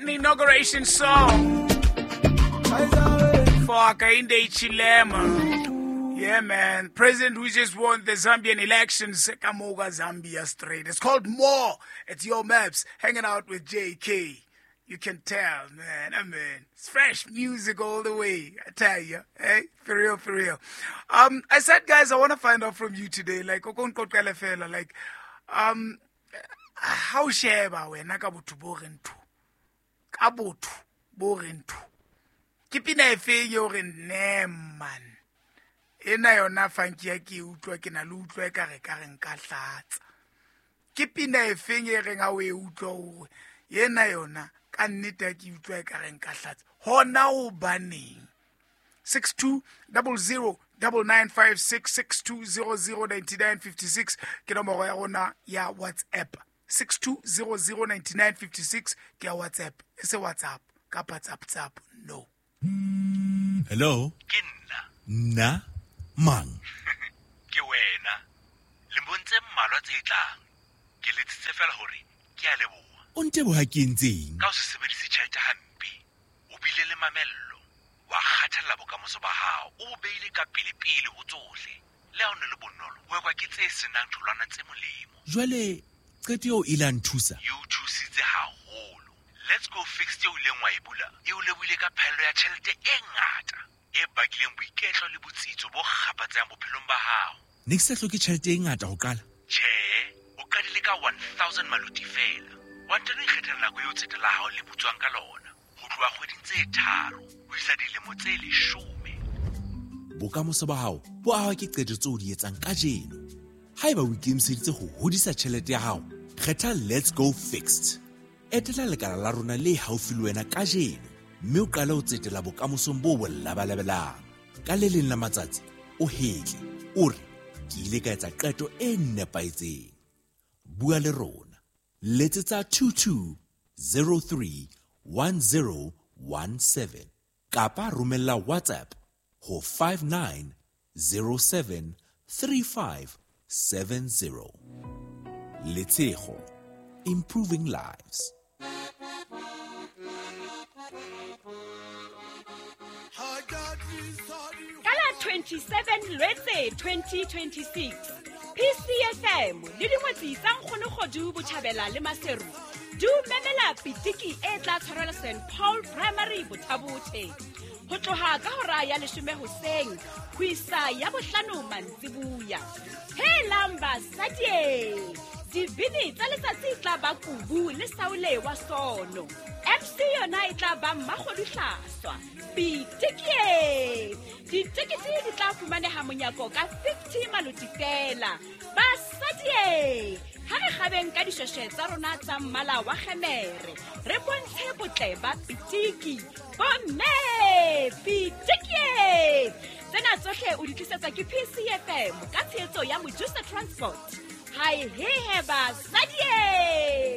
An inauguration song for Hakainde Hichilema. Yeah, man. President who just won the Zambian elections, Kamoga Zambia straight. It's called More. It's Your Maps. Hanging out with JK. You can tell, man. I mean, it's fresh music all the way. I tell you. Hey, for real, for real. I said, guys, I want to find out from you today. Like, like, how sheba wena ka botho bo reng thu? Ka botho bo reng thu? Ke pina efe eo re ne man? Ena yona funky ya ke utlwa ke na le utlwa e ka re ka re nka hlatsa. Ke pina efeng e reng ha o e utlwa hore ena yona ka nnete ya ke utlwa e ka re nka hlatsa. Hona hobaneng? 6200 9956 6200 9956 ke nomoro ya rona ya WhatsApp. 6200 9956 ke ya WhatsApp. E se WhatsApp kapa WhatsApp, no. Hello? Ke nna. Nna? Mang? Ke wena. Lemong tse mmalwa tse tlang. Ke letsitse fela hore ke a leboha. O nteboha ke entseng? Ka ho se sebedise tjhelete hampe. O bile le mamello. Wa kgathalla bokamoso ba hao. O bo beile ka pele-pele ho tsohle. Le ha o ne le bonolo, ho ekwa ke tse senang tholwana tse molemo. Jwale qeto eo ile ya nthusa? E o thusitse haholo. Let's Go Fixed eo ileng wa e bula, e o lebohile ka phaello ya tjhelete e ngata e bakileng boiketlo le botsitso bo kgapatsehang bophelong ba hao. Ne ke sa hloke tjhelete e ngata ho qala? Tjhe, o qadile ka 1000 maloti fela. Wa ntano ikgethela nako eo tsete la hao le butswang ka lona. Ho tloha kgweding tse 3 ho isa dilemo tse 10. Bokamoso ba hao bo ahwa ke qeto tseo o di etsang kajeno. Haeba o ikemiseditse ho hodisa tjhelete ya hao, kgetha Let's Go Fixed. Etela lekala la rona le haufi le wena kajeno mme o qale ho tsetela bokamosong bo bo labalabelang. Ka le leng la matsatsi o hetle, o re ke ile ka etsa qeto e nepahetseng. Bua le rona. Letsetsa 2203 1017 kapa romella WhatsApp ho 5907 3570. Letshego, improving lives. Ka la 27 Lwetse 2026, PCFM le dingwetsi tsa Nkgonokgodu Botjhabela le Maseru di o memela pitiki e tla tshwarelwa St Paul Primary Bothabothe. Ho tloha ka hora ya 10 hoseng ho isa ya 5 mantsibuya. Helang basadi! Dibini tsa letsatsi tla ba Kubu le Saule wa Sono. MC yona e tla ba Mmakgodu Hlaswa. Pitikie! Ditekete di tla fumaneha monyako ka 50 maloti fela. Basadi! Ha re kgabeng ka dishweshwe tsa rona tsa mmala wa kgemere, re bontshe botle ba pitiki. Bomme! Pitikie! Tsena tsohle o di tlisetsa ke PCFM ka tshehetso ya Mojusa Transport. Hai he he basadi!